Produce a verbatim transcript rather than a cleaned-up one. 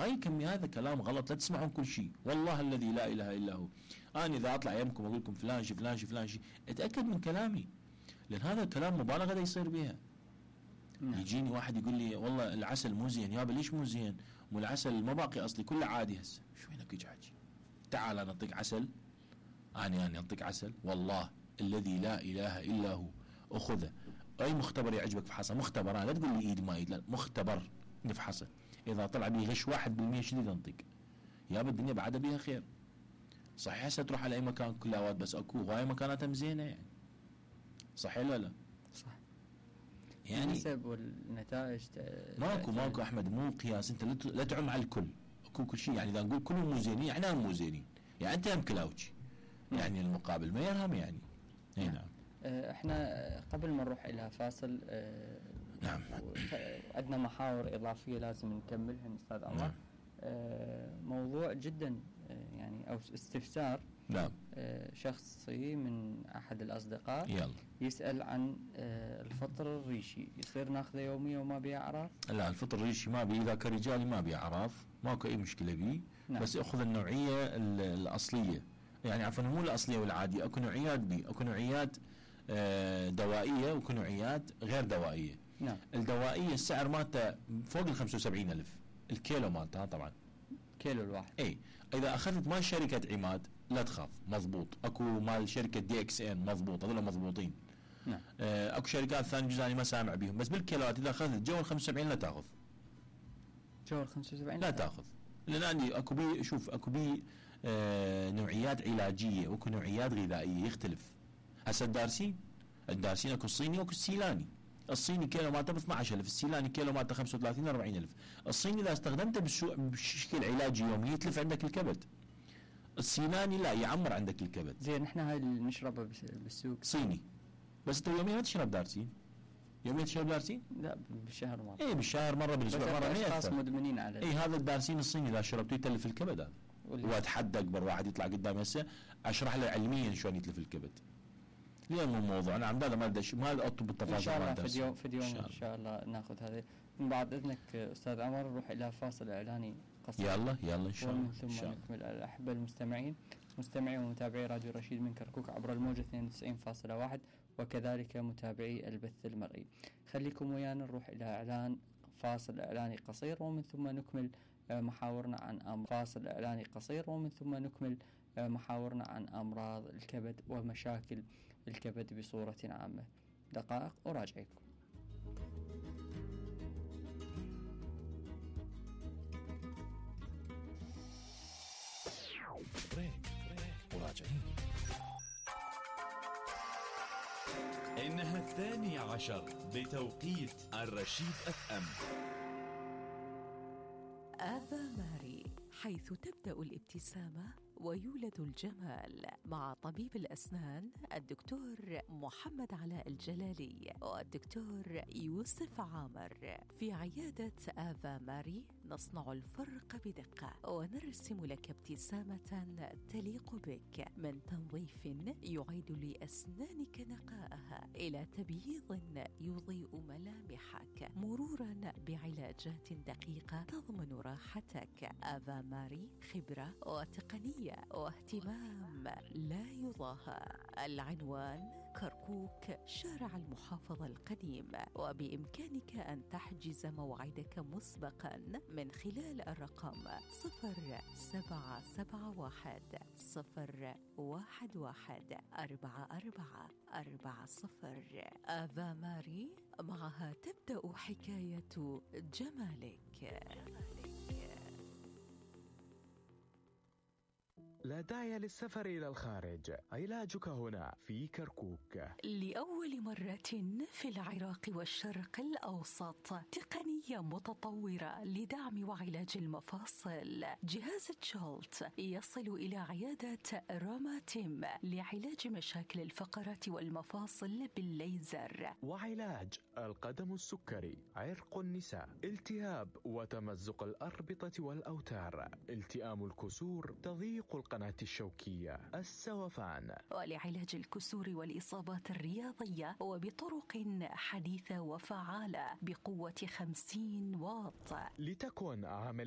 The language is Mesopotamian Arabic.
هاي كمية، هذا كلام غلط، لا تسمعون كل شيء، والله الذي لا اله الا هو. انا اذا اطلع يمكم اقول لكم فلان شي فلان شي فلان شي، اتاكد من كلامي، لان هذا الكلام مبالغه دا يصير بها. نعم. يجيني واحد يقول لي والله العسل مو زين، يابا ليش مو زين؟ مو العسل ما باقي اصلي كله عادي هسه. شو وينك يجي؟ تعال انا اعطيك عسل، انا انا اعطيك عسل والله الذي لا اله الا هو، اخذه اي مختبر يعجبك فحصه، مختبر، لا تقول لي ايد ما ايد، لا مختبر نفحصه، اذا طلع بيه غش واحد بالمية شديد انطق، يابا الدنيا بعد بيها خير. صحيح هسه تروح على اي مكان كل اوقات، بس اكو هواي مكانات مزينه يعني، صحيح ولا لا؟ صح. يعني النسب والنتائج ماكو ماكو احمد، مو قياس، انت لا تعم على الكل، اكو كل شيء، يعني اذا نقول كلهم مو زينين يعني هم مو زينين، يعني انت هم كلاوتشي، يعني المقابل ما يرهم يعني. اي نعم. احنا قبل ما نروح الى فاصل نعم عندنا محاور اضافيه لازم نكملها استاذ عمر. نعم. موضوع جدا يعني او استفسار نعم شخصي من احد الاصدقاء، يلا. يسال عن الفطر الريشي، يصير ناخذه يوميا وما بيه اعراف؟ لا الفطر الريشي ما بيه، اذا كرجالي ما بيه اعراف، ماكو اي مشكله بيه. نعم. بس اخذ النوعيه الاصليه، يعني عفوا مو الاصليه والعاديه، اكو نوعيات بيه، اكو نوعيات دوائيه واكو نوعيات غير دوائيه. نعم. الدوائيه السعر مالته فوق ال خمسة وسبعين ألف الكيلو مالتها طبعا، كيلو الواحد. اي اذا اخذت مال شركه عماد لا تخاف مضبوط، اكو مال شركه دي اكس ان مضبوط، هذول مضبوطين. نعم. آه اكو شركات ثانيه جزاني ما سامع بيهم، بس بالكيلوات اذا اخذت جو ال خمسة وسبعين لا تاخذ، جو ال خمسة وسبعين لا تاخذ، لان عندي اكو بي شوف اكو بي آه نوعيات علاجيه واكو نوعيات غذائيه يختلف. هسه الدارسين الدارسين اكو الصيني واكو السيلاني، الصيني كيلو مالته ب اثني عشر ألف، السيلاني كيلو مالته خمسة وثلاثين أربعين ألف. الصيني اذا استخدمته بشكل علاجي يومي يتلف عندك الكبد، السيلاني لا يعمر عندك الكبد. زين احنا هاي اللي نشربها بالسوق صيني، بس انت يوميا ما تشرب دارسين، يوميا تشرب دارسين؟ لا بالشهر مره. اي بالشهر مره، بالاسبوع مره، ما اشخاص مدمنين على اي هذا الدارسين الصيني اذا شربته يتلف الكبد هذا. واتحدى اكبر واحد يطلع قدامي هسه اشرح له علميا شلون يتلف الكبد. اليوم الموضوع انا عم هذا ما ادش ما اطلب بالتفاصيل ان شاء الله في اليوم في اليوم ان شاء الله ناخذ هذه. من بعد اذنك استاذ عمر نروح الى فاصل اعلاني قصير، يلا يلا ان شاء الله، ومن ثم نكمل. الاحبه المستمعين مستمعي ومتابعي راديو رشيد من كركوك عبر الموجة اثنين وتسعين فاصلة واحد، وكذلك متابعي البث المرئي. خليكم ويانا نروح الى اعلان فاصل اعلاني قصير، ومن ثم نكمل محاورنا عن أمراض. فاصل اعلاني قصير ومن ثم نكمل محاورنا عن امراض الكبد ومشاكل الكبد بصورة عامة. دقائق وراجعكم. بريك بريك وراجعين. إنها الثانية عشر بتوقيت الرشيد اف ام. آفا ماري، حيث تبدأ الابتسامة ويولد الجمال، مع طبيب الأسنان الدكتور محمد علاء الجلالي والدكتور يوسف عامر. في عيادة آفا ماري نصنع الفرق بدقة ونرسم لك ابتسامة تليق بك، من تنظيف يعيد لأسنانك نقاءها إلى تبييض يضيء ملامحك، مرورا بعلاجات دقيقة تضمن راحتك. آفا ماري خبرة وتقنية واهتمام لا يضاهى. العنوان كركوك، شارع المحافظة القديم، وبإمكانك أن تحجز موعدك مسبقا من خلال الرقم صفر سبعة سبعة واحد صفر واحد واحد أربعة أربعة أربعة صفر. آفا ماري، معها تبدأ حكاية جمالك. لا داعي للسفر إلى الخارج، علاجك هنا في كركوك. لأول مرة في العراق والشرق الأوسط تقنية متطورة لدعم وعلاج المفاصل. جهاز تشولت يصل إلى عيادة راماتيم لعلاج مشاكل الفقرات والمفاصل بالليزر، وعلاج القدم السكري، عرق النساء، التهاب وتمزق الأربطة والأوتار، التئام الكسور، تضييق القناة الشوكية، السوفان، ولعلاج الكسور والإصابات الرياضية وبطرق حديثة وفعالة بقوة خمسين واط. لتكن عملية